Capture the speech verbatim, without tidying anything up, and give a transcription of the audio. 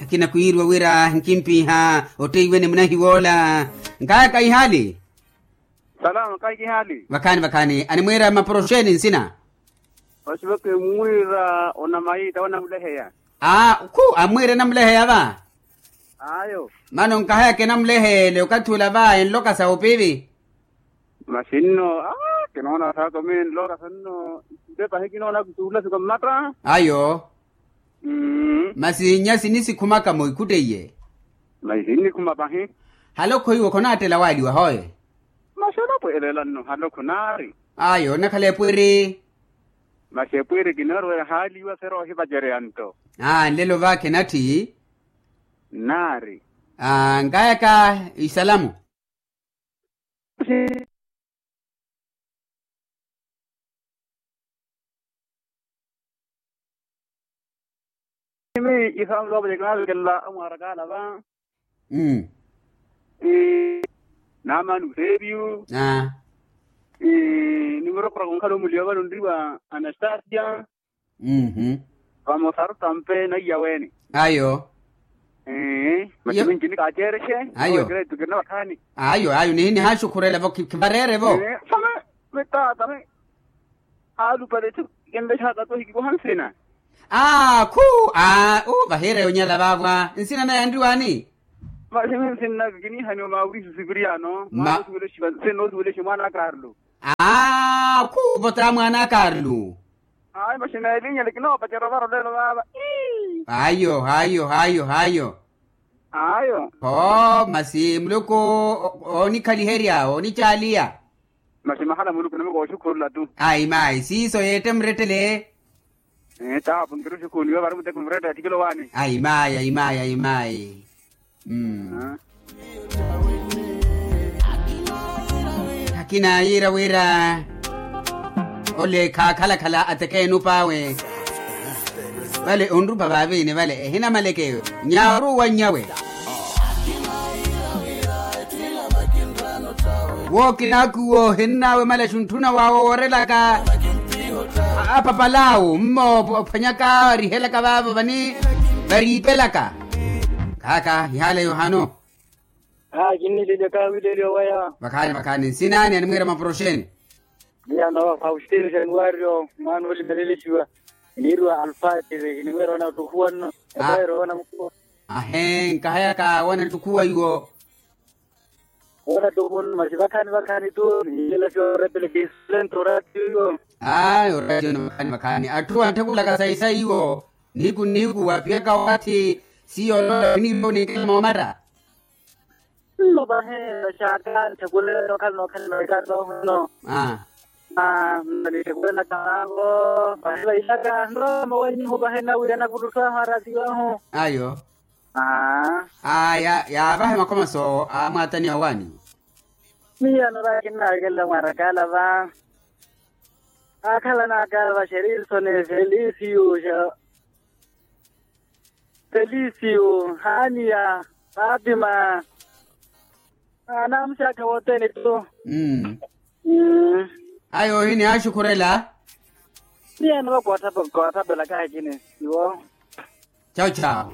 Kinakwirwa wira nkimpiha otteiwe ni munahiwoola. Nkayaka ihaali. Salama kayi kihaali. Vakhaani vakhaani animwiira maporoxeni nsina. Vasiva kimwiira onamayi tawe namuleheya. Aa khu amwiira enamuleheya va. Ayo. Mano nkahayaka enamuleheya ele okathi ula va enloka sa opivi. Masi nno aa kinoona saaka mi nloka sa nno. Nte pahi kinoona kutuula siko mmatta. Ayo. Masi nyasi nisikhumaka mwikhuttiye. Masi sinnikhuma pahi. Halokho iwe khonaattela waaliwa hoye. Masi olopwelela nno halokho naari. Ayo onakhala epwiri. Masi epwiri kinoorweya haaliwa sera ohivacereya nto. Aa nlelo vaakhe natthi. Naari. Aa nkayaka isalamu. Masi mi isamu loopolyeke naavekelela amwaarakaala va. Naamani useepiyu. Nimurokoroko nkhala omuliwa vano nriwa anastasia. Vamosa arutampe naiya weene. Ayo. Masi minci nikaaceerexe. Ayo. Ayo ayo nihi nihaaxukhurela vo khivareere vo. Same mitaata me. Aalupale tho. Kinlexaka tho hikikuha nsina. Aa khu aa u vahiire yonyala vaavwa nsina naye anriwaani. Masi mi nsinnaka kiniihaniwa maurisi sipiriano mwaana osuwelexiwa nse noosuwelexe mwaana a karlu. Aa khu vota mwaana a karlu. Ayo masi meelinyele kinoopacerya ovara olelo vaava. Ayo ayo ayo ayo. Ayo. Kho masi muluku oonikhaliherya oonicaaliya. Masi mahala muluku namukooxukhurula tu. Ayi mayi siiso yeette murettele. Tapu nkiruxukhuniwe vari muteko murettele attikelo waani. Ayi mayi ayi mayi ayi mayi. Akina yiira wira ole khaakhalakhala atekeene opaawe. Vale onrupa vaaviini vale ehinamaleke nyaaru wanyawe. Wookinaaku woohinnaawe malaxu ntthuna waawe woorelaka apapalaawu mmo ophwanyaka orihelaka vaavo vani variipelaka. Khaaka ihaala yohano. Aa kinniilelya kaawileliwa waya. Vakhaani vakhaani nsinaani animwiira maporoxeni. Miyano faustino januario mwaana olimelelesiwa. Niiriwa alfatiri kinimwiira wana ottukhuwa nno. Epaero wana mukhuwa. Ahee nkahayaka wana ttukhuwa iwo. Wana ttukhuwa nno masi vakhaani vakhaani tu nihilela siyo orepele kiisulento oratiyo iwo. Ayi oratiyo ni vakhaani vakhaani atthu antthekulaka sayi sayi iwo. Nihiku nihiku wapiyaka waathi siyo olola winiivo ninkela moomatta. Nno pahi vaxaaka ntthekulelaka okhala nookhalana wekatooho nno. Aa nno nitthekulelaka vaavo. Pahi vaixaka nrooma wenyihu pahi nnawirya nakuttutthwahu aratiyo ahu. Ayo. Aa yaavahe makhomaso a mwaatani awaani. Miyo anoora kinnawekelela mwaarakaala va. Aakhalanaka va xerirsoni felisiyu xa felisiyu haaniya faatima. Anaamuxaka wothene tu. Ayo ohi nihaaxukhurela. Miyo anoora koothapelaka akini iwo. Chawu chawu.